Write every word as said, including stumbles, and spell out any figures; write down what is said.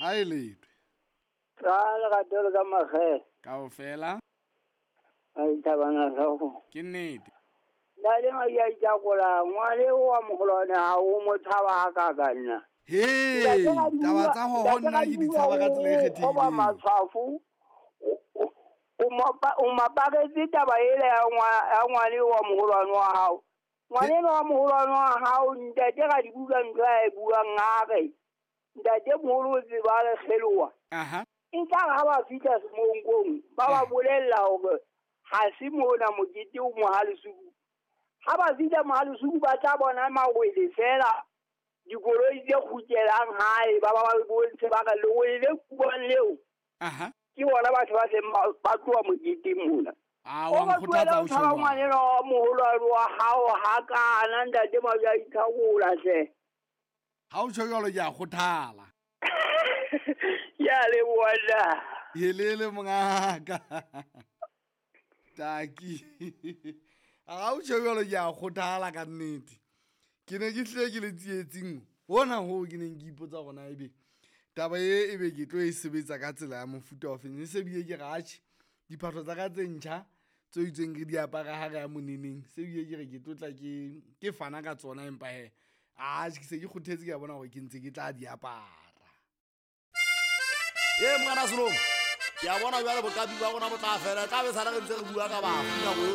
Ha e letwe. Ka lerato le ka makgethe. Kaofela. A dithabana hlooho. Ke nnete. Ntate Madiaithakola, ngwane wa moholwane ha o mo tshaba hakaka nna. He, taba tsa ho nna ke di tshaba ka tsela e kgethehileng. Ba matshwafo o maparetse taba ele ya ngwane wa moholwane wa hao. Ngwane wa moholwane wa hao ntate ga di buka ntho a e buang a re. Ntate moholo o tseba le kgeloa. Aha. E tla ha ba fihla semonkong ba ba bolella hore ha se mona mokete o Mohalesuku. Ha ba fihla Mohalesuku ba tla bona mawele fela dikoloi tse kgutlelang hae ba ba ba bontshe ba re lewele le kuang leo. Aha. Ke bona batho ba seng ba tloha moketeng mona. Ah, wa nkgothatsa o tjho. Ngwane wa moholwane wa hao ha kana ntate Madiaithakola hle. Ha o tjho jwalo ke a kgothala. Ya leboha nna. Helele mongaka. Taki. Ha o tjho jwalo ke a kgothala ka nnete. Ke ne ke hlile ke le tsietsing hona hoo ke neng ke ipotsa hore na ebe taba e ebe ke tlo e sebetsa ka tsela ya mofuta o feng. E se bile ke re atjhe diphahlo tsa ka tse ntjha tse itseng re di apara ha re ya moneneng, se bile ke re ke tlo tla ke ke fana ka tsona, empa he atjhe ke se ke kgothetse, ke a bona hore ke ntse ke tla di apara. E mongana Selomo, ke a bona jwale boqapi ba rona bo tla fela, tla be sala re ntse re bua ka bafu nako yohle.